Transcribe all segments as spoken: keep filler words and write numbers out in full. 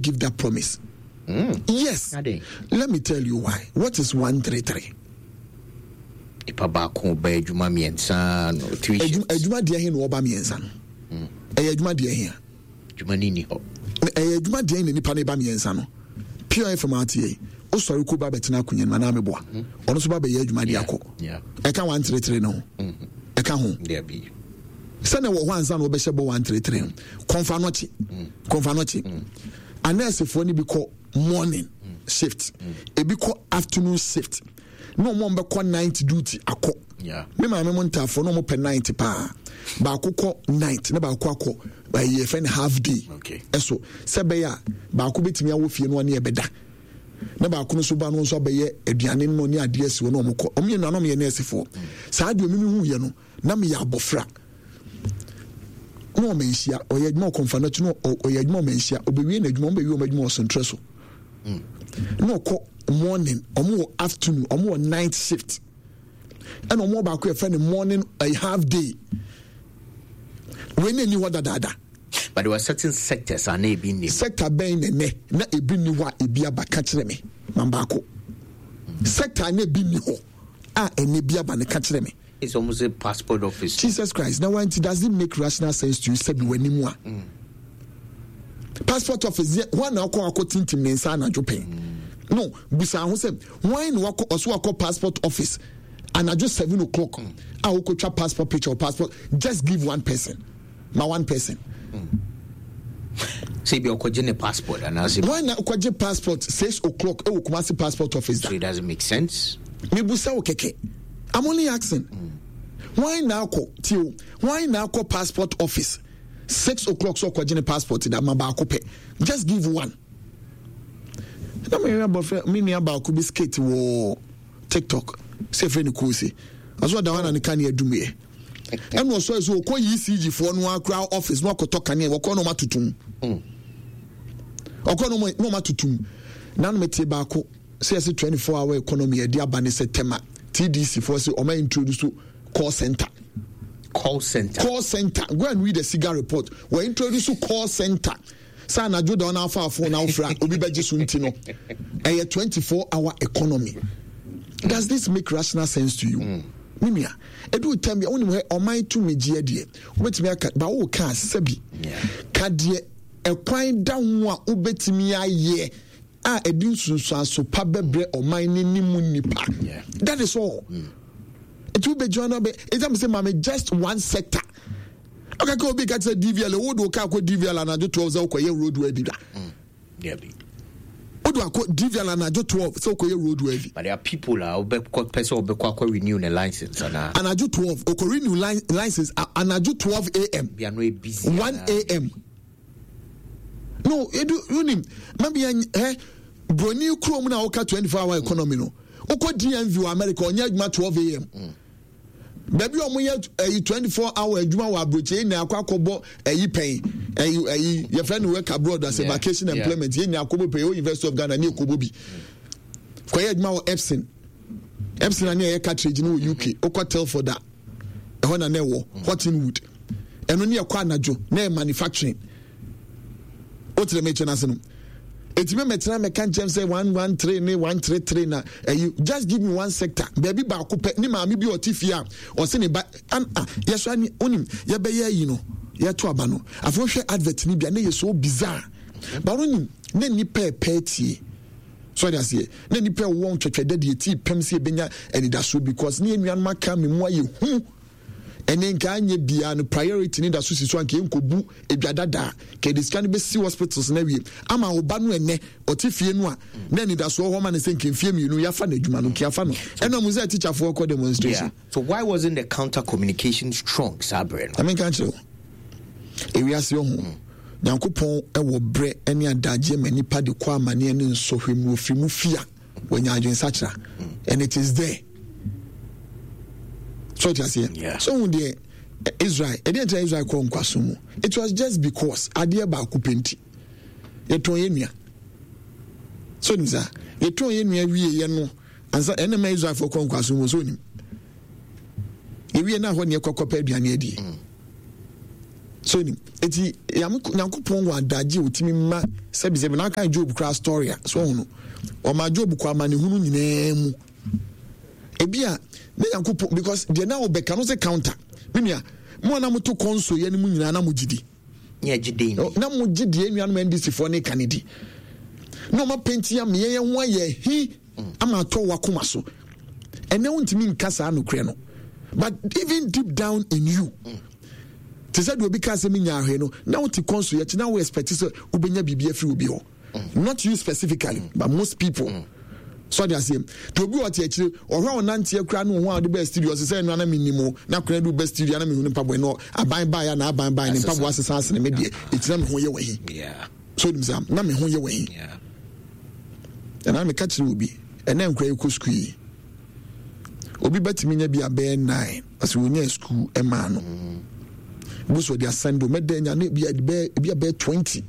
Give that promise. Mm. Yes. Let me tell you why. What is one three three? Nipa baako ba adwuma mmiɛnsa no three shifts. Adwuma deɛ he na ɔba mmiɛnsa no. Mm. Ɛyɛ adwuma deɛ he a. Adwuma ni ni hɔ. Ɛyɛ adwuma deɛ na nipa no ba mmiɛnsa no. Pure F M ate yɛ. Osɔre ko ba bɛtena akonnwa no mu anaa meboa. Mm. Ɔno nso ba bɛyɛ adwuma de akɔ. Ɛka one three three no ho. Mm-hmm. Ɛka ho. Sɛnɛ wɔ hɔ ansa na wɔbɛhyɛ bɔ one three three no. Kɔnfa nɔkye. Kɔnfa nɔkye. Anɛɛsefoɔ no bi kɔ morning shift. Ebi kɔ afternoon shift. Na wɔn bɛkɔ night duty akɔ. Me maame mo ntaafoɔ na wɔn pɛ night paa. Baako kɔ night na baako akɔ ɛyɛ fɛn half day. Ɛso sɛ bɛyɛ a baako bɛtumi awɔ fie no ɔne ɛbɛda. Na baako no nso ba no nso abɛyɛ aduane no ne adeɛ asi hɔ na wɔn kɔ. Wɔn yɛ nua na wɔn yɛ nɛɛsefoɔ. Saa deɛ wɔn mi hu yɛ no na meyɛ abɔfra. Na ɔma nhyia ɔyɛ adwuma ɔkɔmfa no akyi na ɔyɛ adwuma ɔma nhyia ɔbɛwie n'adwuma ɔbɛwie ɔmo adwuma ɔsontrɛ so mm. Na ɔkɔ morning, ɔmo wɔ afternoon, ɔmo wɔ night shift, ɛna ɔmo wɔ baako yɛfrɛ no morning a half day. Wei na ɛni hɔ dadaada. But there were certain sectors a na ebi nni. Sector bɛn na ɛnɛ na ebi nni hɔ a ebi aba? Ka kyerɛ me ma baako. Sector na ebi nni hɔ a ɛnɛ bi aba no, ka kyerɛ me. It's almost a passport office. Jesus Christ. Now, when does it make rational sense to you? Sɛ bi w'anim a. Mm. Passport office yɛ wɔn na akɔ akɔ tintim ne nsa anadwo pɛn. Mm. No, busa ho sɛ wɔn na wakɔ ɔso akɔ passport office anadwo seven o'clock mm. a wokɔtwa passport picture or passport. Just give one person. Ma one person. Mm. Sɛ ebi ɔkɔgye ne passport anaasɛ. Wɔn na ɔkɔgye passport six o'clock ɛwɔ Kumasi passport office da. So it doesn't make sense. Mebusa wo kɛkɛ. I'm only asking. Mm. Why na akɔ tio? Why na akɔ passport office six o'clock so ɔkɔgye ne passport da ma baako pɛ? Just give one. Na me nua bɔfrɛ me nua baako bi skate wɔ TikTok sɛ efirɛ ne koose. Ɔsɛ ɔda hɔ na ne kanea dum yɛ. Ɛna ɔsɔ ɛso ɔkɔ E C G foɔ no akora office na ɔkɔtɔ kanea, wɔkɔ na ɔma tutum. Ɔkɔ na ɔma tutum. Na no mete baako sɛ yɛsɛ twenty-four hour economy yɛde aba ne sɛ Tema T D C foɔ sɛ ɔma introduce call center. Call center. Call center. Go and read the SIGA report. Wɔ introduce call center sɛ anadwo da ɔna afa phone na wofra obi bɛgye so, nti no ɛyɛ twenty-four hour economy. Does this make rational sense to you? Mm. Me nua, ɛdu tam bi a wonim hɛ ɔman tumi gyeɛ deɛ wobɛtumi aka ba wo ka sɛbi ka deɛ ɛkwan da ho a wobɛtumi ayɛ a ɛde nsunsuanso pa bɛbrɛ ɔman ne ne mu nipa. That is all. Nti wobɛgyina no bɛ ɛgya me sɛ maame just one sector ɔkaka obi ka kyerɛ D V L A wode wo kaa kɔ D V L A anadwo twelve sɛ wokɔyɛ road worthy da. Wode akɔ D V L A anadwo twelve sɛ wokɔyɛ road worthy. But there are people a wobɛkɔ pɛ sɛ wobɛkɔ akɔ renew ne license anaa. Anadwo twelve okɔ renew li license anadwo twelve a m. Bia no e busy. one a m. No, edu wonim mabi ɛ broni kurom na woka twenty-four hour economy no, wokɔ D M V wɔ America, ɔnyɛ adwuma twelve a m. Mm. Baabi a wɔyɛ ɛyi twenty-four hour adwuma wɔ aburokyi yɛn nyinaa akɔ akɔbɔ ɛyi pɛn ɛyi ɛyi yɛfrɛ no work abroad as a vacation employment. Yɛn nyinaa akɔbɔ pɛn ɛwɔ University of Ghana ne ekɔbɔ bi kɔyɛ adwuma wɔ Epson Epson ani a ɛyɛ cartridge no wɔ U K. Okɔ Telford a ɛhɔ na na ɛwɔ Hortonwood, ɛno ne ɛkɔ anadwo na ɛyɛ manufacturing. O tẹrɛ mi kyɛn ase no eti mi mɛtena mɛka nkyɛn sɛ one one three ne one three three na ɛyi. Just give me one sector, baabi baako pɛ ne maame bi a ɔte fie a ɔsi ne ba an a yɛsɔ ani onim yɛbɛyɛ ayi no yɛto aba no. Afei wohwɛ advert ni bi a ne yɛ so bizarre ba onim ne nipa ɛpɛ tie so ɔde aseɛ ne nipa ɛwɔ ntwɛtwɛ dɛ deɛ tii pɛm sɛ ebenya anidasoɔ because ne yɛn nuanom aka mi mu ayɛ hu. Ɛne nka anyɛ biara no priority ne da so si so anka yɛnkɔbu edwa dada ka yɛde sika no bɛsi hospitals no awie ama wo ba no. Ɛnɛ ɔte fie no a na anidasoɔ hɔ ma ne sɛ nka mfie mmienu yɛafa no adwuma no nka yɛafa no ɛna mu sɛ teacherfoɔ kɔ demonstration. Yeah. So why wasn't the counter communication strong saa berɛ no? Amenka nkyerɛ wo, ewiase ɔho Nyankopɔn ɛwɔ berɛ ne adagyeɛ ma nipa de kɔ amanneɛ ne nsɔhwɛ mu ofiri mu fia wanya adwensakyera and it is there. So ɔte aseɛ so hu deɛ Israel ɛdeɛ nkyɛn Israel kɔ nkwaso mu. It was just because adeɛ baako pɛ nti yɛtɔn yɛ nua so nim saa yɛtɔn yɛ nua wie yɛ no ansa ɛna ma Israelfoɔ kɔ nkwaso mu. So nim yɛwie na hɔ ne yɛkɔ kɔpɛ aduane adie. So nim eti Nyankopɔn wɔ adagye a otumi ma sɛbisɛbi na aka Job kura story a so ɔho no ɔma Job kɔ amanehunu nyinaa mu. Ebi a na Nyankopɔn, because deɛ na ɔbɛka no sɛ counter me nua mo a na moto kɔnso yɛ no mu nyinaa na mo gye di na mo gye di enuanom N D C foɔ ne ka ne di na ɔma penti ameɛ yɛn ho ayɛ hi ama atɔ wakoma so. Ɛnɛ wontumi nka saa nokorɛ no, but even deep down in you, te sɛ deɛ obi ka sɛ menya ahwɛ no na wote kɔnso yɛkyi na wo expect sɛ wobɛnya biribi afiri obi hɔ, not you specifically, but most people. So ɔde aseɛ nti obi ɔte akyire ɔhwɛ a ɔnanteɛ koraa ne ɔho a ɔde bɛɛ studio, ɔsɛ sɛ ɛno ana menim o na kora de wobɛ studio ana mehu ne mpaboa no aban baeɛ na aban baeɛ ne mpaboa asesa asene me deɛ ɛgyina me ho yɛ wahi. So onim saa na me ho yɛ wahi. Ɛna meka kyerɛ obi ɛnɛ nkora yɛkɔ sukuu yi, obi bɛtumi nya bi abɛyɛ nine ɔsɛ wɔnya sukuu ɛmaa no bo so ɔde asɛnde mɛdɛ nya ne bi abɛyɛ twenty.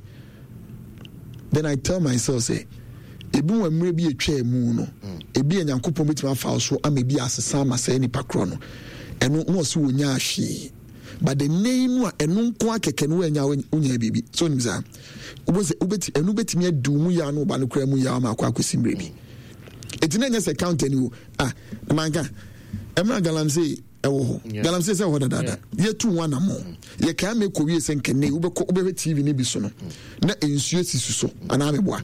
Then I tell myself say ebi wɔ mmerɛ bi atwa mu no, ebi a Nyankopɔn bɛtumi afa so ama ebi asesa ama sɛ nipa korɔ no ɛno na ɔsɛ wɔnya ahwee, but the name no a ɛno nko akɛkɛ no wɔanya wonya biribi. So onim saa wobɛsɛ wobɛti ɛno bɛtumi adi mu yaa no ɔba no koraa mu yaa ama akɔ akɔsi mmerɛ bi. Eti na nyɛ sɛ counter ni o. Ah, manka ɛmira galamsey ɛwɔ hɔ, galamsey sɛ ɛwɔ hɔ dadaada, yɛtu ho anammɔ, yɛkaa mɛ kɔ wie sɛ nkɛnɛ wobɛkɔ wobɛhwɛ T V no bi so no na nsuo sisi so anaa meboa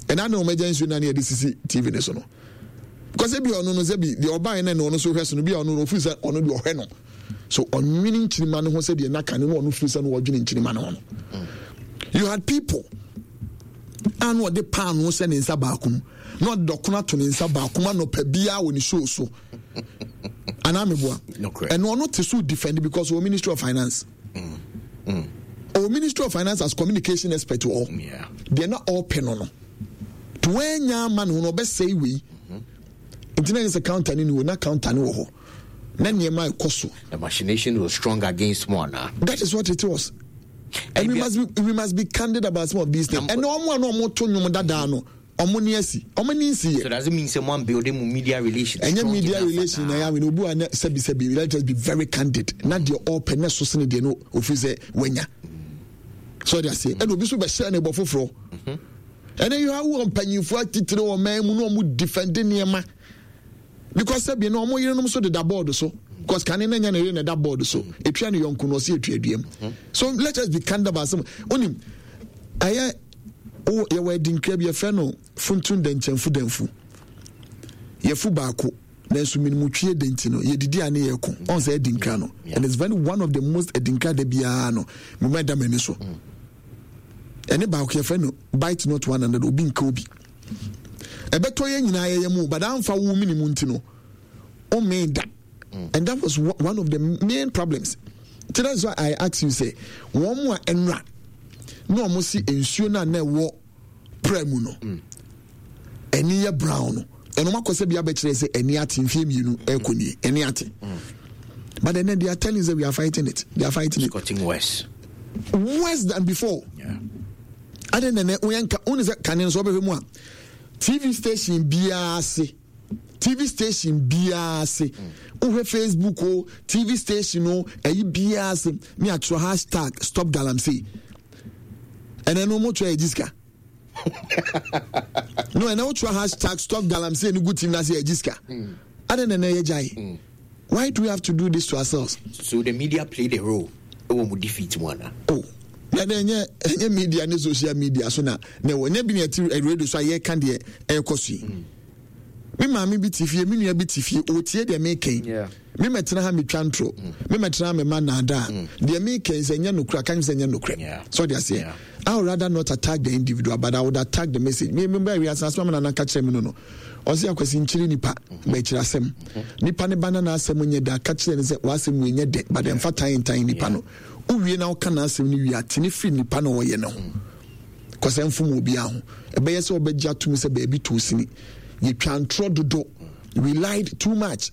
ɛna na ɔmɛgya nsuo na ne yɛde sisi T V no so no, because ebi ɔno no sɛ bi deɛ ɔbaa no na ɔno so hwɛ so no bi a ɔno no ofiri sɛ ɔno deɛ ɔhwɛ no so ɔnwene nkyirima no ho sɛ deɛ naka no na ɔno firi sɛ no ɔdwene nkyirima no ho no. You had people a na ɔde paano hyɛ ne nsa baako mu na ɔde dɔkono ato ne nsa baako mu anɔpa biara wɔ ne show so anaa meboa. Ɛno ɔno te so defend because ɔwɔ Ministry of Finance, mm. Mm. ɔwɔ Ministry of Finance as communication expert wɔ hɔ. Deɛ na ɔpɛ no no to wɔanya ama ne ho no ɔbɛsɛe wei. Nti na yɛ sɛ counter ne ni wɔ na counter ne wɔ hɔ na nneɛma ɛkɔ so. The machination was strong against mo ana? That is what it was, and we must be we must be candid about some of these things. Ɛnna ɔmo a na ɔmo to nnwom dadaa no, ɔmo ni asi ɔmo ni nsi yɛ. So does it mean say mo building mo media relations? Ɛnyɛ media relation na yà wí obi wa ne sɛbi sɛbi, let us be very candid, na deɛ ɔpɛ ne so sene deɛ no ofiri sɛ wanya so ɔde aseɛ, ɛna obi so bɛhyɛ ne bɔ foforɔ. Ɛnna yi awo mpanyinfoɔ atitire wɔ mɛn mu na ɔmo defend nneɛma because sɛbi na ɔmo yerenom so deda board so, because kane na nya ne yere na ɛda board so etua ne yɔnko na ɔsi etua duam. So let us be candid about some onim ɛyɛ yɛwɔ adinkra bi yɛfrɛ no funtun dɛnkyɛnfu dɛnfu yɛfu baako nanso minimutwie de nti no yɛdidi a ne yɛko ɔn sɛ adinkra no, and it's very one of the most adinkra da biara no mema ɛda m'ani so. Ɛne baako yɛfrɛ no bite not one another, obi nka obi ɛbɛtɔ yɛn nyinaa yɛyɛ mu, but amfa wo minimu nti no ɔmmɛn da, and that was one of the main problems. Nti that's why I ask you say wɔn mu a ɛnura na wɔn si nsuo no a na ɛwɔ pra mu no ɛni yɛ brown no, ɛno makɔ sɛ bi abɛkyerɛ sɛ ɛni ate mfie mmienu ɛkɔ nie ɛni ate, but then they are telling us that we are fighting it, they are fighting it. It's getting worse. Worse than before. Yeah. Ade nene woyɛ nka wone sɛ kane nso wobɛhwɛ mu a T V station biara se T V station biara se wohwɛ Facebook o, T V station o, ɛyi biara se ne atwerɛ hashtag stop galamsey. Ɛnɛ no motwerɛ yɛ gyi sika no, ɛnɛ wotwerɛ hashtag stop galamsey no gu T V no ase yɛ gyi sika. Ade nene yɛ gyae. Why do we have to do this to ourselves? So the media played a role ɛwɔ mu defeat mu ana? Oh, na ɛnyɛ ɛnyɛ media ne social media so na na ɛwɔ nyɛ bi na ɛte radio so a yɛka deɛ ɛrekɔ so yi. Me maame bi te fie, me nua bi te fie, ɔtie deɛ mekɛn. Me mɛtena ha metwa ntoro, me mɛtena ha mema naadaa. Deɛ mekɛn sɛ ɛnyɛ nokorɛ aka sɛ ɛnyɛ nokorɛ so ɔde aseɛ. I would rather not attack the individual, but I would attack the message. Me me bɛɛ wiase asɛm na naka kyerɛ me no no ɔsɛ Akwasi nkyiri nipa bɛkyerɛ asɛm nipa ne ba na n'asɛm nyɛ da ka kyerɛ no sɛ w'asɛm wei nyɛ dɛ, but ɛmfa tan ntan nipa no. Wowie na woka n'asɛm no wie a, tene firi nipa na ɔyɛ ne ho kɔsɛ mfom obiara ho ɛbɛyɛ sɛ ɔbɛgye atom sɛ baabi too sini yɛtwa ntorɔ dodo. We lied too much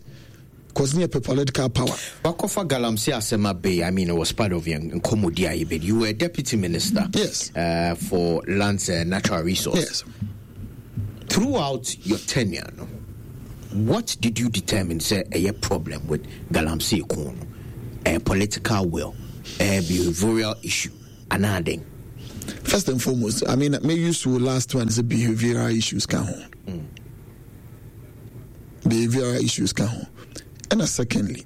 cause ne yɛpɛ political power. Wakɔfa galamsey asɛm abɛyi. I mean, it was part of your nkɔmmɔdi a yɛbɛdi. You were a deputy minister Yes. uh, for lands and natural resource. Yes. Throughout your tenure no, what did you determine sɛ ɛyɛ problem with galamsey ko no? A political will uh, behavioral issue anaa den? First and foremost, I mean, may use to last one is a behavioral issues ka ho. Mm. Behavioral issues ka ho. And secondly,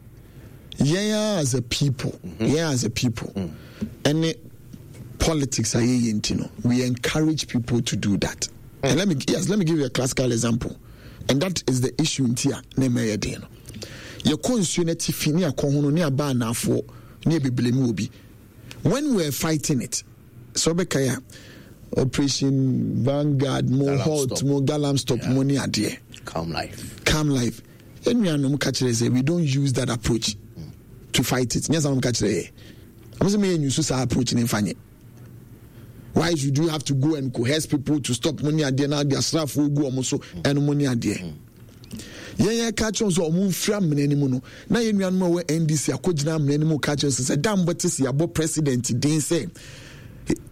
yɛn as a people, mm-hmm. yɛn as a people, mm. ɛne politics a yɛyɛ nti no, we encourage people to do that. Mm. And let me yes, let me give you a classical example. And that is the issue nti a na ɛma yɛ den no. Yɛkɔ nsuo no atifi ne akɔ ho no ne aba anaafoɔ ne yɛbebele mu wɔ bi. When we were fighting it, sɛ wobɛkae a, Operation Vanguard mo halt mo Galam Stop mo ne adeɛ. Calm life. Calm life. Yɛn nuanom ka kyerɛ sɛ we don't use that approach to fight it. Nyɛ saa nom ka kyerɛ yɛ. Wɔn sɛ meyɛ nyusu saa approach ne nfa nyɛ. Why should you have to go and coerce people to stop mo ne adeɛ na ade asraafoɔ gu wɔn so ɛno mo ne adeɛ. Yɛn yɛ ka kyerɛ sɛ wɔn mfiri amena no mu no na yɛn nuanom a ɛwɔ N D C akɔgyina amena no mu ka kyerɛ sɛ sɛ dan bɔ te sɛ yɛabɔ president din sɛ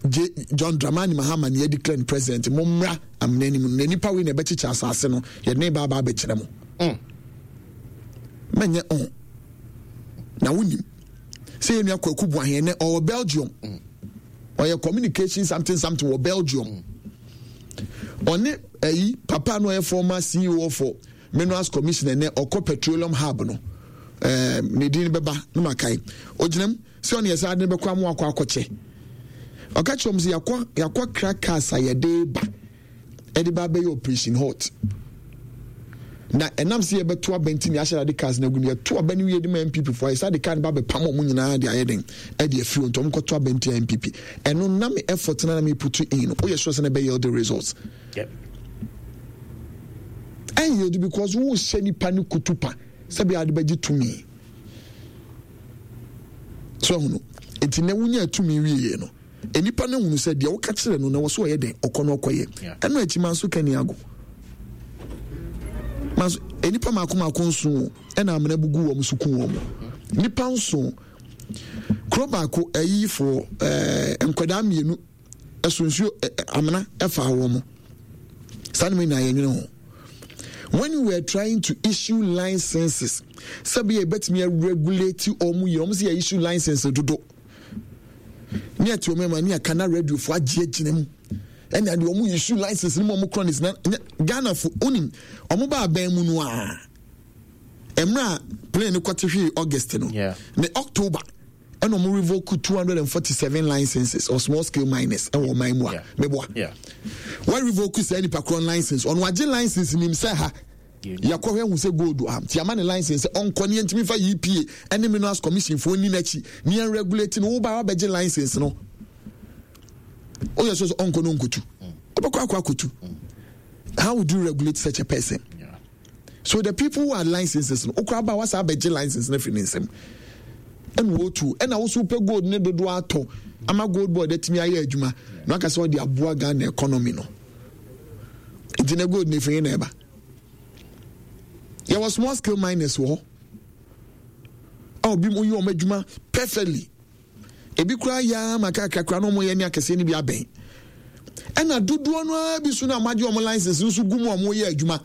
J John Dramani Mahama ne yɛde declare president, mo mmra amena no mu na nipa wei na ɛbɛkyekyɛ asase no, yɛde ne ba aba abɛkyerɛ mo. mm. Mɛnyɛ ɔn na wonim sɛ yɛn nua Kwaku Boahen nɛ ɔwɔ Belgium, mm. ɔyɛ communication something something wɔ Belgium. mm. Ɔne ɛyi papa no ɔyɛ former C E O for Minerals Commission, ɛnɛ ɔkɔ Petroleum Hub no, ɛɛ ne din bɛba ne ma kae. Ogyina mu sɛ ɔne yɛ sɛ ade no bɛkɔ amu akɔ akɔkyɛ. Ɔka kyerɛ wɔn sɛ yɛakɔ yɛakɔ kra cars a yɛde ba ɛde ba abɛyɛ Operation Halt, na ɛnam sɛ yɛbɛto aba nti na yɛahyɛ ade cars no agu no. Yɛto aba no wie de ma N P P foɔ ayɛ sɛ ade car no ba bɛpam wɔn nyinaa de ayɛ den ɛde afiri wɔn, nti wɔn kɔto aba nti N P P. Ɛno nam effort na na mi put in no, woyɛ sure sɛ na ɛbɛ yield the results? Yep. Ɛn yield because wohyɛ nipa no kutupa sɛbi ade bɛgye tumi so ɛhono. Nti na wonya tumi wie no, nipa no hunu sɛ deɛ woka kyerɛ no na wɔ so ɔyɛ den ɔkɔ no ɔkɔyɛ. Ɛno akyi ma nso kani ago ma nso nipa mako mako nson ɛna amena bugu wɔn so kun wɔn nipa nson. Kuro baako ayifoɔ ɛɛ nkwadaa mmienu ɛso nsuo amena ɛfa wɔn saa ne mu nyinaa yɛn nwene ho. When we were trying to issue licenses sɛbi yɛbɛtumi regulate wɔn yie, wɔn sɛ yɛ issue license dodo ne ɛte wɔn ma ne aka na radio fo agye agyina mu ɛna deɛ wɔn issue license ne mu wɔn korɔ ne sena Ghana fo onim wɔn ba abɛn mu no a mmerɛ a plane no kɔte hwee August no ne October ɛna wɔn revoke two hundred and forty seven licenses of small scale miners ɛwɔ ɔman mu a meboa wɔn revoke saa nipa korɔ license. Ɔno agye license nim sɛ ha yɛkɔhwɛ hu sɛ gold ha nti ama ne license sɛ ɔnkɔ ne yɛntumi fa E P A ɛne Minerals Commission foɔ ni n'akyi ne yɛn regulate no. Woba wabɛgye license no, woyɛ so sɛ ɔnkɔ no nkotu, wobɛkɔ akɔ akɔtu. How would you regulate such a person? Yeah. So the people who had licenses no, okura ba wasa abɛgye license no afiri ne nsam ɛna wɔtu ɛna woso pɛ gold ne dodoɔ atɔ ama Gold Board atumi ayɛ adwuma na waka sɛ ɔde aboa Ghana economy no. Nti na gold ne firi na ɛba, yɛwɔ small scale miners wɔ hɔ a obi mu yɛ wɔn adwuma perfectly, ebi koraa yɛ ama kakra koraa na wɔn yɛ ne akɛseɛ no bi abɛn, ɛna dodoɔ no ara bi so na wɔn agye wɔn license nso gu mu a wɔn yɛ adwuma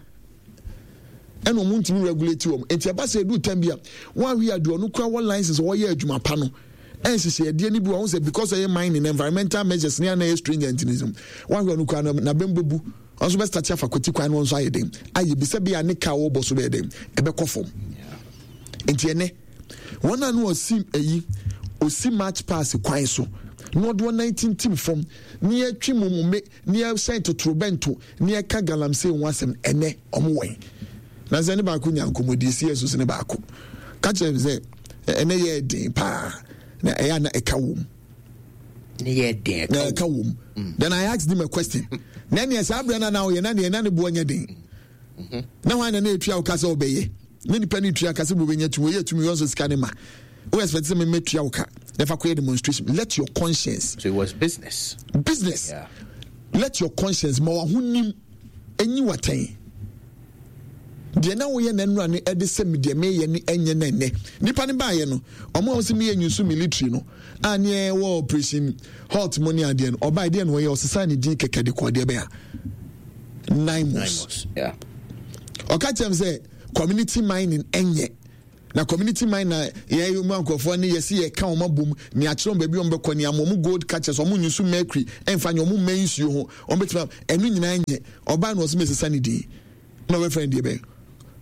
ɛna wɔn ntumi regulate wɔn. Nti ɛba sɛ edu tɛm bi a wɔn awi adeɛ ɔno kura wɔ license wɔyɛ adwuma pa no ɛnhyehyɛ ɛdeɛ no bi wɔn sɛ because ɛyɛ mining, environmental measures ne ana ɛyɛ stringent ne so wɔn ahwɛ ɔno kura na n'abɛn bɛbu, ɔno nso bɛ start afa kwati kwan no nso ayɛ den ayɛ bi sɛ bi a ne kaa wɔbɔ so bɛyɛ den ɛbɛkɔ fam. Nti ɛnɛ wɔn a no ɔsi ɛyi osi March Pass kwan so na ɔde wɔn nan tintim fam ne yɛtwi mu mu me ne yɛhyɛn totorobɛnto ne yɛka galamsey ho asɛm, ɛnɛ ɔmo wɛn na sɛ ne baako nya nkɔmmɔdie si yɛ so ne baako ka kyerɛ me sɛ ɛnɛ yɛ den paa na ɛyɛ ana ɛka wɔ mu. Ne yɛ den. Na ɛka wɔ mu. Then I asked him a question: na neɛ saa berɛ no na woyɛ na neɛ na ne boɔ nyɛ den na hwan na na ɛtua wo ka sɛ wobɛyɛ na nipa no tua ka sɛ wobɛnya tumi wɔyɛ tumi wɔ nso sika ne ma wo expect sɛ memɛtua wo ka na fa kɔyɛ demonstration? Let your conscience So it was business. Business. Yeah. Let your conscience ma wahonim enyi watɛn deɛ na woyɛ na nnura no ɛde sɛ deɛ meyɛ ne ɛnyɛ na ɛnɛ nipa no baayɛ no ɔmo a wɔsɛ meyɛ nyusu military no a ne ɛwɔ Operation Halt mu ne adeɛ no ɔbaa deɛ no ɔyɛ ɔsesa ne din kɛkɛ de kɔ deɛ bɛyɛ a NAIMOS. Yeah. Ɔka kyerɛ m sɛ community mining ɛnyɛ Na community mine na yɛn mu nkurɔfoɔ ne yɛsi yɛka wɔn abom ne akyerɛ wɔn baabi wɔn bɛkɔ ne ama wɔn gold catchers, wɔn nyusu mercury ɛnfa nyɛ wɔn mmɛn nsuo ho, wɔn bɛtumi ɛno nyinaa nyɛ. Ɔbaa na ɔsɛ mɛsesa ne din na ɔbɛfrɛ no deɛ bɛn?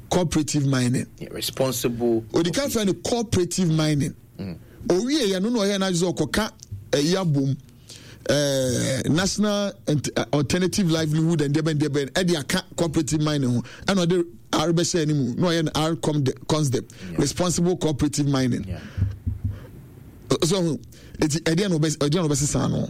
Cooperative mining. Yeah, responsible. Odi kan frɛ no cooperative mining. Mm. Owie yɛ no na ɔyɛ n'adwene sɛ ɔkɔka ɛyi abom, ɛɛ National Alternative Livelihood and deɛ bɛn deɛ bɛn ɛde aka cooperative mining ho, ɛna ɔde R bɛhyɛ anim na ɔyɛ no R consdep, responsible cooperative mining. Yeah. So eti ɛdeɛ na ɔbɛ ɛdeɛ na ɔbɛsesa no.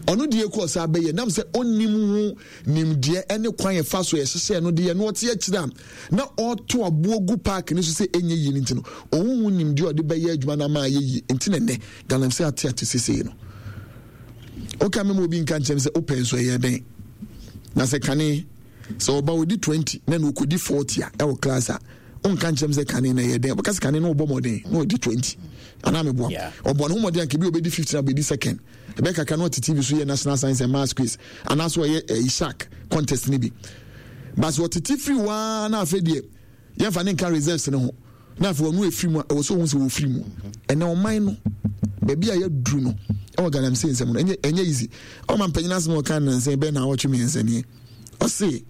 Ɔno deɛ kɔ ɔsa bɛyɛ nam sɛ ɔnim ho nimdeɛ ɛne kwan yɛfa so yɛhyehyɛ no deɛ no ɔte akyire a na ɔto aboɔ gu park no so sɛ ɛnyɛ yie no nti no, ɔho ho nimdeɛ ɔde bɛyɛ adwuma no ama ayɛ yie nti na nnɛ galamsey ate ate sesei no. Woka me ma obi nka nkyɛm sɛ wopɛ nso ɛyɛ dɛn na sɛ kane sɛ ɔba ɔdi twenty na na ɔkɔdi forty a ɛwɔ class a, wonka nkyɛm sɛ kane na ɛyɛ dɛn? Wobɛka sɛ kane no ɔbɔ mmɔden na ɔdi twenty anaa meboa? Ɔbɔ ne ho mmɔden anka bi ɔbɛdi fifteen abɛdi second, ɛbɛyɛ kakra na ɔte T V so yɛ National Science and Maths quiz anaasɛ ɔyɛ ɛyi shark contest no bi. But sɛ ɔtete firi waa na afei deɛ yɛmfa ne nka reserves no ho na afei ɔno efiri mu a, ɛwɔ sɛ ohun sɛ wɔfiri mu. Ɛnɛ ɔman no baabi a yɛduru no ɛwɔ galamsey nsɛm no, ɛnyɛ ɛnyɛ easy. Ɔma mpanyin asɛm a ɔka nansa bɛn na awɔtwe mmiɛnsa nie, ɔse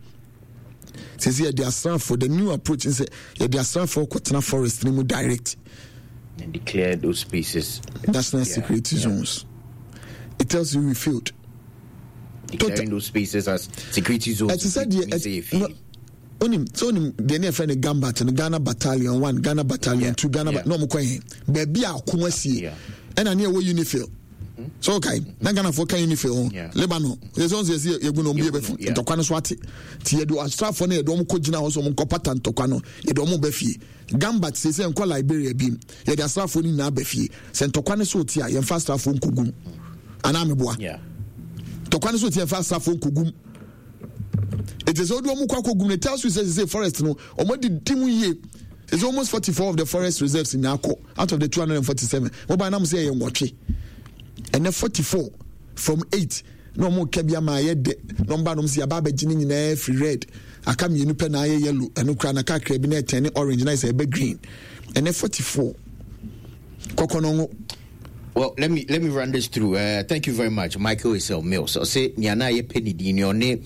sisi yɛde asraafo, the new approach n sɛ yɛde asraafo kɔtena forest no mu direct and declare those spaces national yeah, security yeah. zones. It tells you we failed. Declaring Total. Those spaces as security zones. Ɛte sɛ deɛ onim sɛ onim deɛ ne yɛfrɛ no Gambat no, Ghana Battalion one, Ghana Battalion yeah. two, Ghana yeah. na ɔmo kɔ yɛn baabi a ɔko asie, ɛna ne ɛwɔ UNIFIL so okay na Ghanafoɔ ka UNIFIL ho. Lebanon yɛ sɛ ɔnso yɛsi yɛgu na ɔmo yɛ bɛfi ntɔkwa no so ate ti yɛde asraafoɔ no, yɛde ɔmo kɔ gyina hɔ sɛ ɔmo nkɔ pata ntɔkwa no, yɛde ɔmo bɛ fie. Gambat sɛ sɛ nkɔ Liberia bi, yɛde asraafoɔ no nyinaa bɛ fie sɛ ntɔkwa no so te a, yɛmfa asraafoɔ nkɔgum anaa meboa? Ntɔkwa no so te, yɛmfa asraafoɔ nkɔgum. It is sɛ wode ɔmo kɔ akɔgum no tells you sɛ sɛ forest no ɔmo adidi mu yie. It's almost forty-four of the forest reserves nyinaa kɔ out of the two hundred forty-seven. Mobile nam sɛ ɛyɛ nwɔtwe, ɛnɛ forty-four from eight na ɔmo ka bi ama ayɛ dɛ na ɔmo ba nom sɛ yaba abɛgye ne nyinaa firi red, aka mmienu pɛ na ayɛ yellow, ɛno kora na kakra bi na ɛtɛn ne orange na ɛsɛ ɛbɛ green. Ɛnɛ forty-four kɔkɔ no ngo. Well, let me let me run this through. Uh, thank you very much, Michael Isel Mills. So say Niana ye penny di ni one eh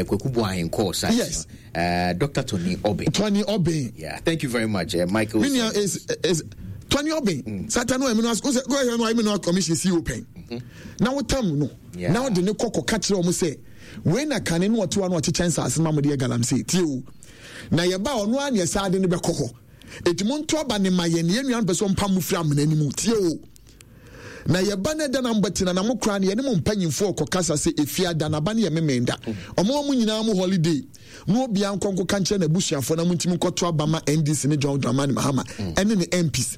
Kweku Boahen call site. Yes. Uh, Doctor Tony Obin. Tony Obin. Yeah. Thank you very much, uh, Michael. Minia is is Tony Obin. Mm. Satan no emino as go ahead no emino commission C open. Na wotam no. Na wode ne kɔkɔ ka kyerɛ wɔn sɛ wei na kane no ɔte wa no ɔkyekyɛ nsaase ma mo de yɛ galamsey tie o, na yɛba ɔno a ne ɛsaa de ne bɛkɔ hɔ, eti mo nto aba ne ma yɛn ne yɛn nua mpɛ sɛ ɔmpa mo firi amena no mu tie o, na yɛba no ɛda na mbɛtena na mo koraa no yɛne mo mpanyimfoɔ kɔkasa sɛ efie ada na aba no yɛ memenda, ɔmo mo nyinaa mo holiday na obiara nkɔ nkɔka nkyerɛ n'abusuafoɔ na mo ntumi nkɔto aba ma N D C ne John Dramani Mahama ɛne ne M Ps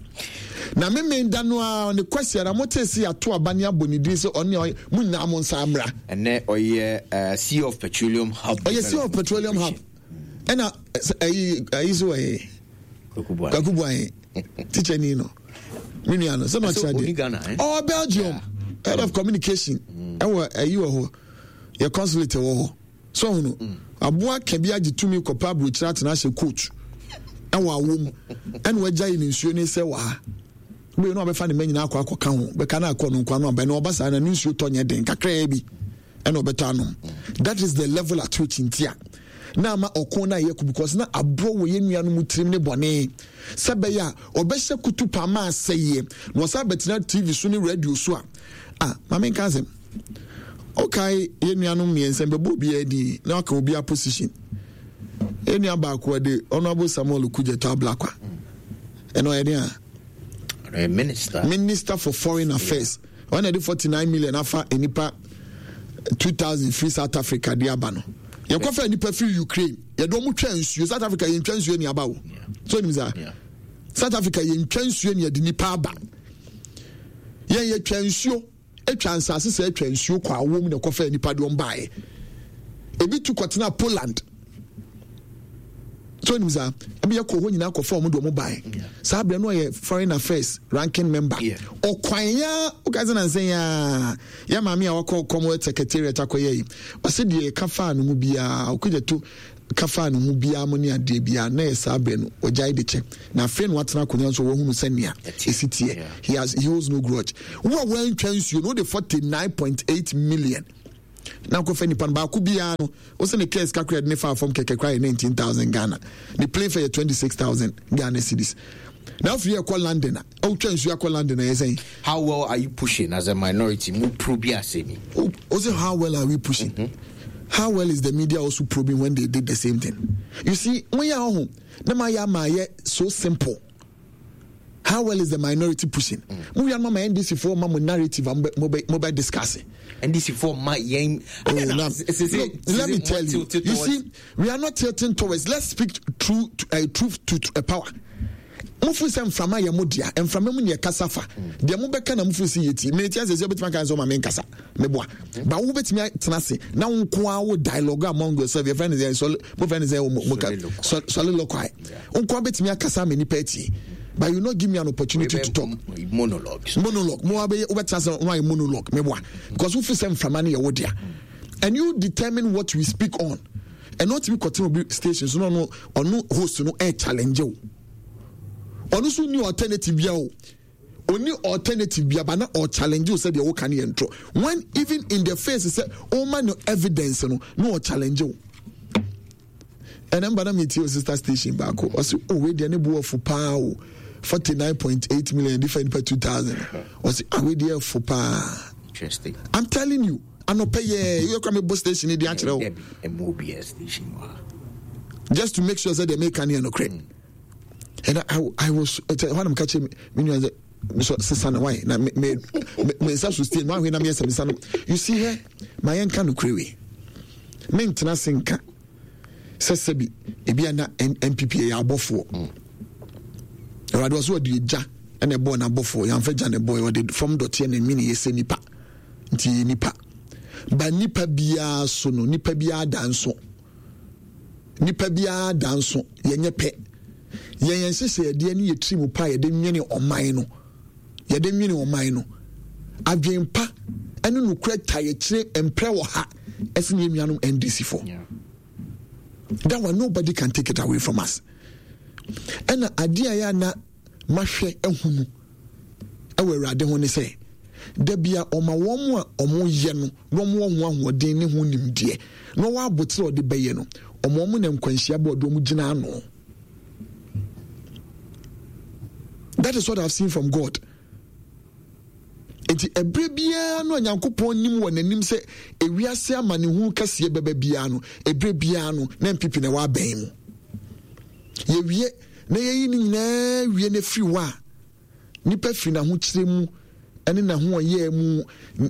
na memenda no a ne kwasiara mo tee sɛ yɛato aba ne abɔ ne din sɛ ɔne ɔyɛ mo nyinaa mo nsa mmra. Ɛnɛ ɔyɛ uh, C E O of Petroleum Hub. Ɔyɛ C E O of Petroleum Hub, ɛna ɛyi ɛyi so wɔyɛ Kwaku Buaye teacher ni no, me nua no sɛ na ɔkyerɛ adeɛ ɔwɔ Belgium, head of communication ɛwɔ ɛyi wɔ hɔ, yɛ consulate wɔ hɔ so ɔhono aboa ka bi agye tumi kɔpɛ aburokyerɛ atena ahyɛ coat ɛwɔ awom, ɛna wagya yi ne nsuo ne sɛ wɔ ha wei na ɔbɛfa ne mma nyinaa akɔ akɔka ho bɛka na akɔ no nkwa no aba na ɔba saa na ne nsuo tɔ nyɛ den kakraa bi ɛna ɔbɛtɔ anom. That is the level at which nti a na ama ɔko no ayɛ ko, because na aborɔ wɔ yɛn nuanom tirim ne bɔne sɛ bɛyɛ a ɔbɛhyɛ kutu pama asɛeɛ na ɔsan bɛtena T V so ne radio so a ah, maame nka asɛm ɔkae yɛn nuanom mmiɛnsa bɛbɔ obiara din na ɔka obiara position. Yɛn nua baako ɛde Honourable Samuel Okudzeto Ablakwa, ɛna ɔyɛ den a minister minister for Foreign Affairs. Ɔna ɛde forty nine million afa nipa two thousand firi South Africa de aba no. Yɛkɔfa nipa firi Ukraine, yɛde wɔn twa nsuo. South Africa yɛn twa nsuo ni aba o, so onim saa South Africa yɛn twa nsuo ni yɛde nipa aba. Yɛn yɛ twa nsuo, atwa nsase sɛ atwa nsuo kɔ awom na ɛkɔfa nipa de wɔn baeɛ. Ebi tu kɔtena Poland so onim saa ebi yɛ kɔ hɔ nyinaa kɔfa wɔn de wɔn baeɛ. Saa abirɛ no ɔyɛ Foreign Affairs ranking member. Ɔkwan ya ɔka sɛ nansa ya yɛ maame a wakɔ Commonwealth Secretariat akɔyɛ yi, ɔsɛ deɛ ɛka faa no mu biara ɔkɔgya to ka faa ne ho biara mo ne adeɛ biara na yɛ saa berɛ no ɔgyae de kyɛ na afei na watena akonnwa nso wahunu sɛnea ɛsi teɛ. He has he holds no grudge. Wo a woantwa nsuo no wode forty nine point eight million na akɔfa nipa no baako biara no wo sɛ ne kɛs kakra de ne faa fam kɛkɛ koraa yɛ nineteen thousand Ghana, ne plane fare yɛ twenty six thousand Ghana cedis. Na afei ɛkɔ London a wotwa nsuo akɔ London a yɛ sɛn? How well are you pushing as a minority? Mu probe asɛm yi. O sɛ how well are we pushing? Mm-hmm. How well is the media also probing when they did the same thing? You see, mo yɛ ɔho na ma yɛ ama yɛ so simple. How well is the minority pushing? Mo wia no ma N D C foɔ ma mo narrative a mo bɛ mo bɛ discuss. N D C foɔ ma yɛn. Oh, now, look, let me tell you. You see, we are not tilting towards. Let's speak true, uh, truth to, to uh, power. Mo firi sɛ mframa yɛ mo dea, mframa mu ne yɛ kasa fa. Deɛ mo bɛka na mo firi sɛ yɛ ti. Mene ti asɛ sɛ wobɛtumi aka sɛ ɔma me nkasa. Meboa. Ba wo bɛtumi atena ase na wo nko ara wo dialogue among yourself. Yɛfrɛ no sɛ sɔle, mo frɛ no sɛ mo mo ka soliloquy. Wo nko ara bɛtumi akasa ama nipa atie. But you not give me an opportunity to talk. Monologue. Monologue. Mo abɛyɛ wobɛtena ase na wayɛ monologue. Meboa. Because wo firi sɛ mframa no yɛ wo dea. And you determine what we speak on. Ɛno ɔtumi kɔtena obi station so na ɔno ɔno host no ɛ challenge wo. Ɔno nso ni alternative bia o. Oni alternative bia ba na ɔ challenge wo sɛ deɛ woka no yɛ ntorɔ. When even in the face sɛ ɔma no evidence no na ɔ challenge wo. Ɛnɛ mba na metie o sister station baako ɔse o wei deɛ ne bo afu paa o, forty-nine point eight million de fa nipa two thousand. Ɔse ah wei deɛ afu paa. Interesting. I'm telling you, anɔpɛ yɛ yɛ kora mebɔ station di akyerɛ wo. Just to make sure sɛ deɛ meka ne yɛ nokorɛ. And I, I, I was hɔ na meka kyerɛ me nua sɛ so sesa no why na me me me nsa so stain wahwe na me yɛ sɛ no. You see here, ma yɛnka nokorɛ wei. Mentena se nka sɛ sɛbi ebi a na N P P yɛ abɔfoɔ. Awurade ɔso ɔde gya ɛna ɛbɔɔ n'abɔfoɔ, yɛamfa gya na ɛbɔɔ, ɔde fam dɔteɛ na ɛmini yɛ sɛ nipa. Nti yɛ nipa. Ba nipa biara so no, nipa biara da nso. Nipa biara da nso, yɛnyɛ pɛ. Yɛn yɛn nhyehyɛeɛ ne yɛ tiri mu pa a yɛde nwene ɔman no. Yɛde nwene ɔman no. Adwen pa ɛne nokorɛ ta yɛkyerɛ mprɛ wɔ ha ɛsɛ ne yɛn nuanom N D C foɔ. That one nobody can take it away from us. Ɛna adeɛ a yɛ ana mahwɛ ahunu ɛwɔ Awurade ho ne sɛ da bia ɔma wɔn a wɔn yɛ no na wɔn wɔ ho ahoɔden ne ho nimdeɛ na wɔn abotire a ɔde bɛyɛ no wɔn wɔn na nkwanhyia bɔ ɔde wɔn gyina ano. That is what I've seen from God. Nti ɛberɛ biara no a Nyankopɔn nim wɔ n'anim sɛ ewiase amanehunu kɛseɛ bɛba biara no, ɛberɛ biara no na N P P na ɛwɔ abɛn mu. Yɛwie na yɛyi ne nyinaa wie no afiri hɔ a, nipa firi n'ahokyerɛ mu ne n'ahoɔyɛ mu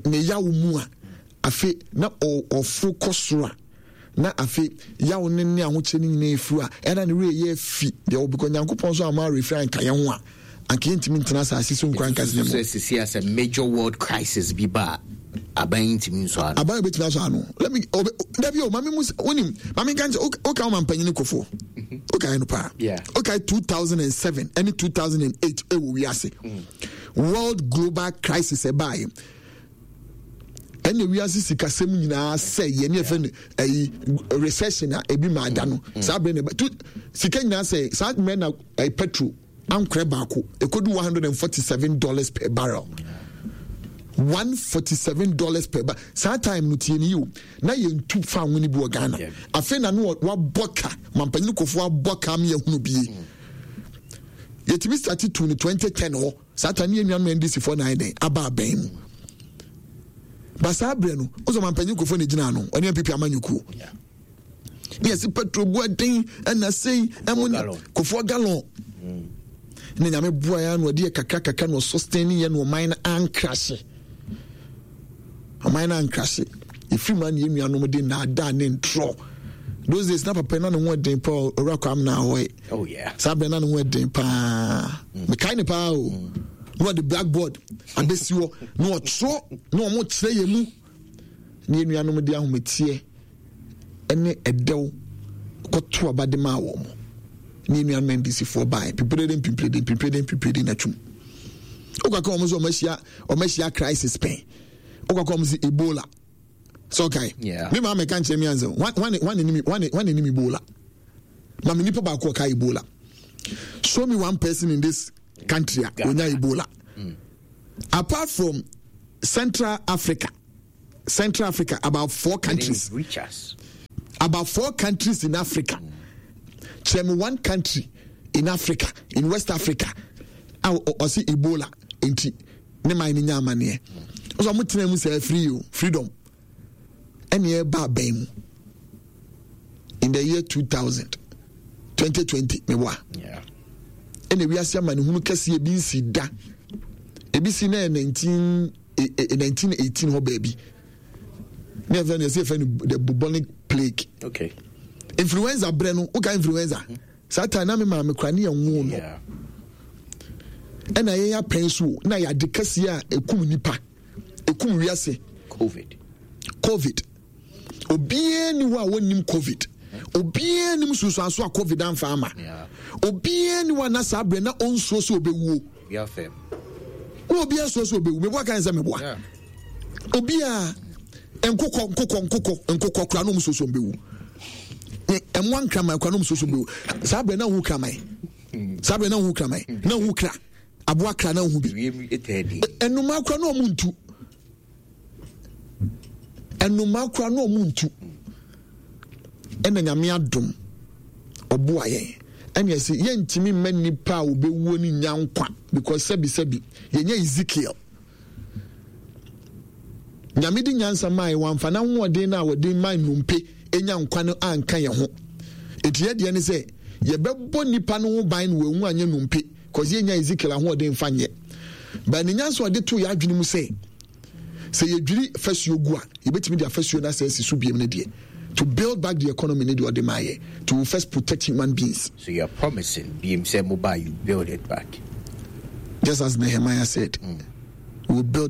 ne yaw mu a, afe na ɔforo kɔ soro a, na afe yaw ne ne ahokyerɛ no nyinaa efiri a, ɛna ne werɛ yɛ afi deɛ wɔ, because Nyankopɔn nso ama awerɛfiri anka yɛn ho a, anka yɛntumi ntena asase so nkura nkasi ne mu. Sɛ sisi asɛ major world crisis bi ba a, aban yi ntumi nsɔ ano. Aban yi betumi asɔ ano. Let me, obe, dabi o, maame mu, wonim, maame nka nkyɛn, o ka wo mampanyin kofo. O ka yɛ no paa. O ka two thousand and seven ɛne two thousand and eight ɛwɔ wiase. World global crisis ɛbaayɛ. Ɛna wiase sikasɛm nyinaa sɛ yɛ ne yɛfɛ no ɛyi recession a ebi ma ada no. Saa bere na ɛba tu sika nyinaa sɛ saa mmerɛ na ɛyi petrol ankorɛ baako ekodu one hundred and forty seven dollars per barrel. one forty seven dollars per barrel. Saa time no tie ni yi o na yɛn tu fa ho ni bi wɔ Ghana. Afei na no wabɔ ka mampanyin kofo abɔ ka mi ehunu bie. Yɛtumi start tu no twenty ten hɔ. Saa time yɛn nuanom N D C foɔ na ayɛ dɛn aba abɛn mu. Ba saa berɛ no wosɛ mampanyin kofo na gyina ano ɔne N P P amanyɔkuo. Ne yɛsi petrol bu ɛden ɛna sei ɛmo ne kofoɔ gallon. Ne nyame boa yɛn ano ɔde yɛ kakra kakra na ɔsustain yɛ na ɔman no ankrahye. Ɔman no ankrahye. Efiri mu a na yɛn nuanom de nnaadaa ne ntorɔ. Those days na papa na ne ho ɛden paa owura Kwame na ahɔe. Oh yeah. Saa berɛ na ne ho ɛden paa. Mekae ne paa o. Na ɔde blackboard abɛsi hɔ na ɔtwerɛ na ɔmo kyerɛ yɛn mu. Na yɛn nuanom de ahometeɛ ne ɛdɛw kɔto aba de maa wɔn. Na yɛn nuanom N D C foɔ baeɛ pipirede mpipirede mpipirede mpipirede na twum. Wokaka wɔn sɛ wɔn ahyia, wɔn ahyia crisis pɛn. Wokaka wɔn sɛ Ebola. Sɛ ɔkae. Yeah. Me maa mɛka nkyerɛ mi ansa. Wane nim Ebola. Ma me nipa baako ɔka Ebola. Show me one person in this country a onya Ebola. Mm. Apart from Central Africa, Central Africa, about four countries. Reach us. About four countries in Africa. Kyerɛ me one country in Africa, in West Africa, a ɔsi Ebola nti ne man no nya amaneɛ. Ɔsɛ ɔmo tena mu sɛ free o, freedom. Ɛna ɛba abɛn mu in the year two thousand, twenty twenty, meboa. Ɛna wiase amanehunu kɛseɛ ebi nsi da. Ebi si na yɛ nineteen nineteen eighteen hɔ baabi. Ne yɛfrɛ no, yɛsɛ yɛfrɛ no the bubonic plague. Okay. Influenza brɛ no, woka influenza. Mm-hmm. Saa time na me maame kora ne yɛn wo no. Ɛna yɛn apɛn so na yɛ ade kɛseɛ a ekum nipa, ekum wiase. COVID. COVID. Obiara ni hɔ a wɔnnim COVID. Obiara nim sunsuanso a COVID amfa ama. Obiara ni hɔ a na saa brɛ na ɔnsuo sɛ ɔbɛwuo. Na obiara suo sɛ ɔbɛwu. Meboa kan sɛ meboa. Obiara nkokɔ nkokɔ nkokɔ nkokɔ kora na ɔmo suo sɛ ɔbɛwu. Ɛmoa nkraman kora na ɔmo suo sɛ ɔbɛwu. Saa brɛ na ɔhu kraman. Saa brɛ na ɔhu kraman. Na ɔhu kra. Aboa kra na ɔhu bi. Ɛnuma kora na ɔmo ntu. Ɛnuma kora na ɔmo ntu. Ɛna Nyame adom ɔboa yɛn. Ɛna ɛsɛ yɛntumi mma nipa a ɔbɛwuo no nya nkwa because sɛbi sɛbi yɛnyɛ Ezekiel. Nyame de nyansa maa yɛn, wamfa n'ahoɔden no a wɔde ma nnompe nya nkwa no anka yɛn ho. Eti yɛ deɛ ne sɛ yɛbɛbɔ nipa no ho ban na wɔawu anyɛ nnompe cause yɛnya Ezekiel ahoɔden mfa nyɛ. But ne nyansa ɔde to yɛ adwene mu sɛ sɛ yɛdwiri fasuo gu a yɛbɛtumi de afasuo no asɛ asi so biem no deɛ, to build back the economy ne deɛ ɔde maa yɛ, to first protect human beings. So you are promising biem sɛ mobile you build it back. Just as Nehemiah said, mm. we will build